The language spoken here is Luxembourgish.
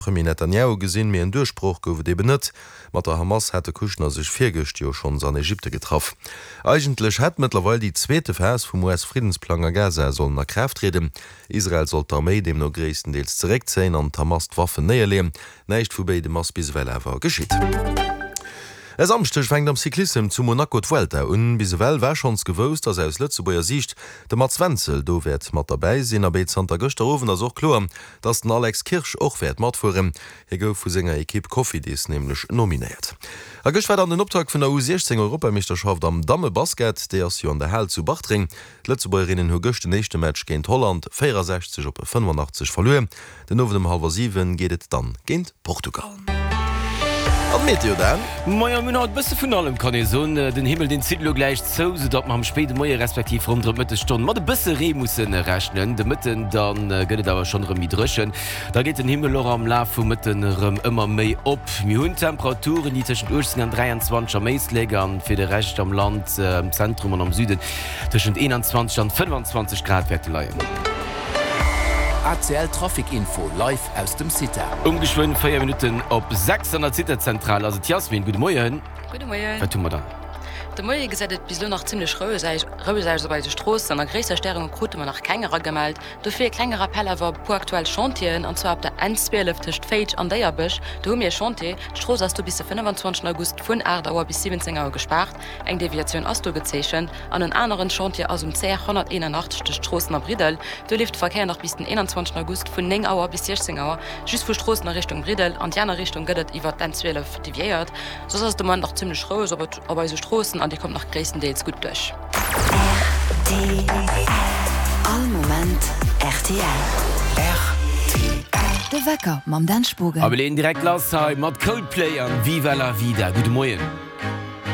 Premier Netanjahu gesinn, mee en Duerchbroch gouf et eben net. Mat der Hamas hat de Kushner sech virgëscht jo schonns an Ägypte getraff. Eigentlech hätt mëttlerweil déi zweete Phas vum US-Friddensplang a Gaza sollen a Kraaft trieden. Israel sollt d'Arméi deemno gréisstendeels zeréckzéien an d'Hamas d'Waffen néierleeën. Näischt vu béidem ass bis ewell awer geschitt. E Samschdeg fänkt am Cyclissem zu Monaco d'Vuelta un. Bis ewell war schonns gewousst, dass aus Lëtzebuerger Siicht de Mats Wenzel do wäert mat derbäi sinn. Abee zanter gëschter Owend ass och kloer, dass den Alex Kirsch och wäert matfueren. Hie gouf vu senger Ekipp Cofidis nämlech nominéiert. A gëscht war dann den Optakt vun der U 16 Europameeschterschaft am Dammebasket. Déi ass jo an der Hal zu Bartreng. D'Lëtzebuergerinnen hu gëscht den éischte Match géint Holland 64 op 85 verluer. Den Owend um hallwer 7 geet et dann géint Portugal. An d'Meteo Dan? Majo, mir hunn haut e bësse vun allem, kann ee soen. Den Himmel, deen zitt elo gläich zou, soudatt mer am spéide Moie respektiv ronderëm d'Mëttesstonn mat e bësse Ree musse rechnen. De Mëtten da gëtt et awer schonn erëm méi dréchen. Da geet den Himmel och am Laf vum Mëtten erëm ëmmer méi op. Mir hunn Temperaturen, déi tëschent 18 an 23 am Éislek an fir de Rescht am Land, am Zentrum an am Süden, tëschent 21 an 25 Grad wäerte leien. ACL Trafic Info live aus dem CITA. Um geschwënn 4 Minutten op 6 an der CITA-Zentral ass et d'Yasmin. Gudde Moien. Gudde Moien. Wat hu mer dann? De Moie gesäit et bis elo nach zimmlech roueg aus op eise Stroossen. A gréisser Störunge krute mer nach keng eragemellt. Dofir e klenge Rappell awer op e puer aktuell Chantieren, an zwar op der N 12 tëscht Féitsch an Déierbech. Do hu mir e Chantier. D'Strooss ass do bis de 25 August vun 8 Auer bis 17 Auer gespaart. Eng Deviatioun ass do gezeechent an en aneren Chantier ass um CR 181 tëscht Stroossen a Briddel. Do leeft de Verkéier nach bis den 21 August vun 9 Auer bis 16 Auer just vu Stroossen a Richtung Briddel. An déi aner Richtung gëtt et iwwer d'N 12 deviéiert. Soss ass et de Moment nach zimmlech roueg op op eise Stroossen an Dir kommt nach gréisstendeels gutt duerch. Rtl. All Moment rtl. Rtl. De Wecker mam Dan Spogen. A mir leeën direkt lass hei mat Coldplay an Viva la Vida. Gudde Moien.